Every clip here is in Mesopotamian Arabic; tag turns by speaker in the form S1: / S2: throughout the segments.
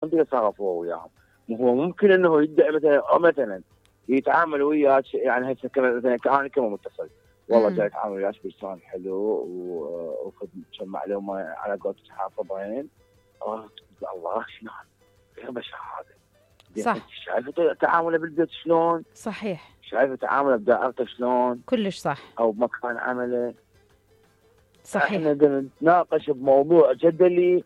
S1: انت يتصرف هو وياهم. هو ممكن انه يدعي مثلا، او مثلا يتعامل وياك، يعني هسه مثلا انا كما متصل والله جاي اتعامل وياك بلسان حلو وخذ كم معلومه على قولتك حافظين. الله شنو غير بشر هذا.
S2: صح.
S1: شايفه تعامله بالبيت شلون؟
S2: صحيح.
S1: شايفه تعامله بدائرته شلون؟
S2: كلش صح.
S1: او بمكان عمله.
S2: صحيح.
S1: احنا بدنا نتناقش بموضوع جدلي،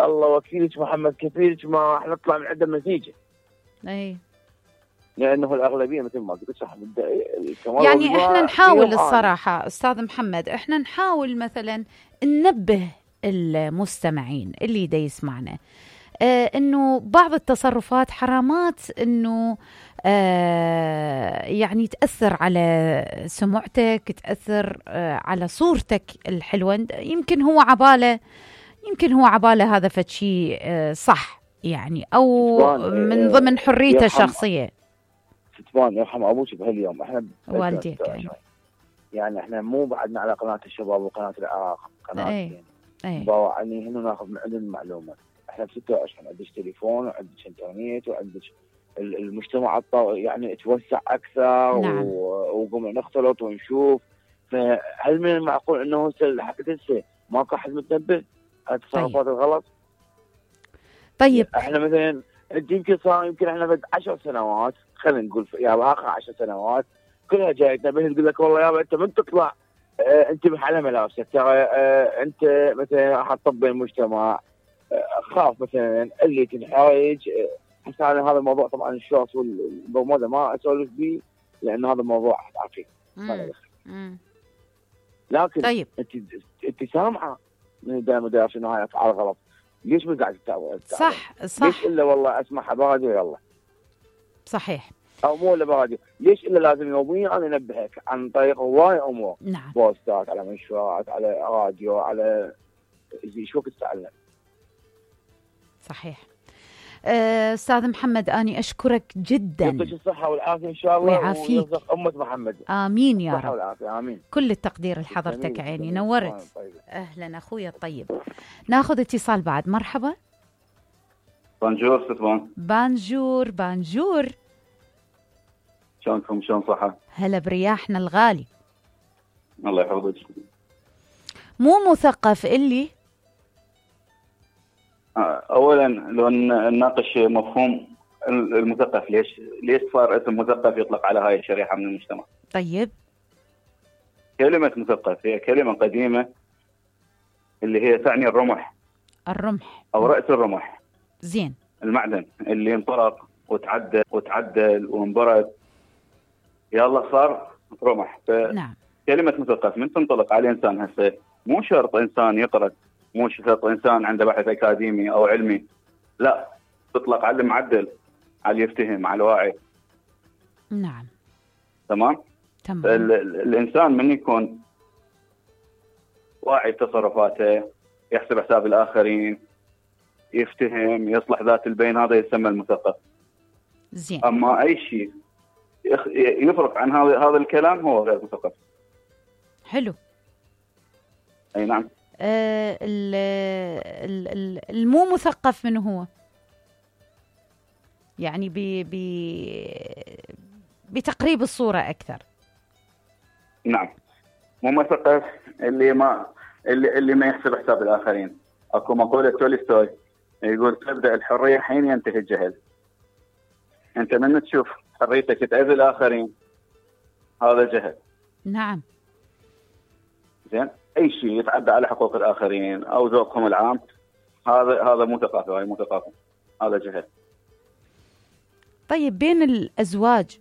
S1: الله وكيلك محمد كفيلك ما راح نطلع من عنده نتيجه.
S2: اي
S1: لانه الاغلبيه مثل ما قلت صح
S2: يعني احنا نحاول الصراحه استاذ محمد، احنا نحاول مثلا ننبه المستمعين اللي دا يسمعنا انه بعض التصرفات حرامات انه يعني تأثر على سمعتك، تأثر على صورتك الحلوة. يمكن هو عباله هذا فشي صح يعني، او من ضمن حريته الشخصية.
S1: ستوان يرحم ابوك بهاليوم احنا
S2: والديك
S1: يعني احنا مو بعدنا على قناة الشباب وقناة العراق، قناة يعني هنا ناخذ من عندنا المعلومة. احنا ب 26 عندك تليفون وعندك انترنت وعندك المجتمع يعني توسع اكثر.
S2: نعم.
S1: وقمنا نختلط ونشوف. فهل من المعقول انه حتى هسه ماكو احد متنبه على التصرفات الغلط؟
S2: طيب
S1: احنا مثلا يمكن احنا بعد 10 سنوات، خلينا نقول يا اخر 10 سنوات كلها جاي تنبه تقول لك والله يابا انت من تطلع انتبه على ملابسك، ترى انت مثلا راح تطبق المجتمع، خاف مثلا اللي تنحرج. هسه هذا الموضوع طبعا الشورت والبرمودا ما اسولف به لان هذا الموضوع عقيم ما له دخل. لكن
S2: طيب
S1: انت سامعه من مدير شنو هاي افعال غلط، ليش ما قاعد تتابع؟
S2: صح.
S1: ليش الا والله اسمعها براديو يلا.
S2: صحيح.
S1: او مو الا براديو، ليش الا لازم يوميا انا انبهك عن طريق هواي امور.
S2: نعم.
S1: بوستات على منشورات على راديو على شو تتعلم.
S2: صحيح. استاذ محمد اني اشكرك جدا.
S1: يعطيك الصحه والعافيه ان شاء الله
S2: ويعافيك
S1: ويرزق امه محمد.
S2: امين يا رب.
S1: الصحه والعافيه امين.
S2: كل التقدير لحضرتك عيني نورت. اهلا اخويا الطيب. ناخذ اتصال بعد. مرحبا.
S3: بانجور ستوان.
S2: بانجور
S3: شلونكم؟ شلون صحة؟
S2: هلا برياحنا الغالي.
S3: الله يحفظك. مو
S2: مثقف اللي
S3: اولا لو نناقش مفهوم المثقف، ليش صار اسم مثقف يطلق على هاي الشريحة من المجتمع؟
S2: طيب
S3: كلمة مثقف هي كلمة قديمة اللي هي تعني الرمح او رأس الرمح.
S2: زين.
S3: المعدن اللي انطلق وتعدل وانبرد يلا صار رمح.
S2: نعم.
S3: كلمة مثقف من تنطلق على الإنسان هسه، مو شرط إنسان يقرأ، مو شرط إنسان عنده بحث أكاديمي أو علمي، لا، تطلق على المعدل، على يفتهم، على الواعي.
S2: نعم.
S3: تمام. الإنسان من يكون واعي بتصرفاته، يحسب حساب الآخرين، يفتهم، يصلح ذات البين، هذا يسمى المثقف.
S2: زين.
S3: أما أي شيء يفرق عن هذا الكلام هو غير مثقف.
S2: حلو.
S3: اي نعم.
S2: المو مثقف من هو يعني بتقريب الصورة أكثر.
S3: نعم. مو مثقف اللي ما يحسب حساب الآخرين. اكو مقولة تولستوي يقول تبدأ الحرية حين ينتهي الجهل. انت من تشوف حريتك تأذي الآخرين هذا جهل.
S2: نعم.
S3: زين. أي شيء يتعدى على حقوق الآخرين أو ذوقهم العام هذا مو ثقافة، هاي مو ثقافة، هذا جهل.
S2: طيب بين الأزواج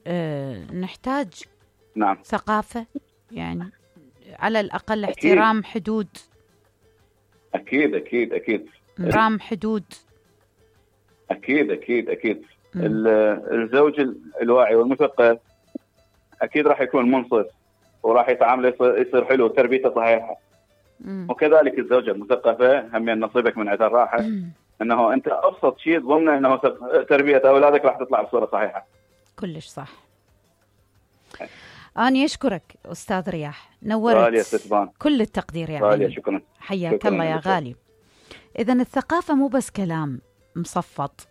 S2: نحتاج
S3: نعم
S2: ثقافة يعني على الأقل احترام أكيد. حدود.
S3: أكيد أكيد أكيد.
S2: احترام حدود.
S3: أكيد أكيد أكيد. الزوج الواعي والمثقف أكيد راح يكون منصف وراح يتعامل يصير حلو وتربيته صحيحة. وكذلك الزوجة المثقفة هم نصيبك من عذر راحة أنه أنت أبسط شيء ضمن أنه تربية أولادك راح تطلع بصورة صحيحة.
S2: كلش صح. أنا أشكرك أستاذ رياح، نورت. كل التقدير يا غالي.
S3: شكرا.
S2: حياك الله يا غالي. إذن الثقافة مو بس كلام، مصفط.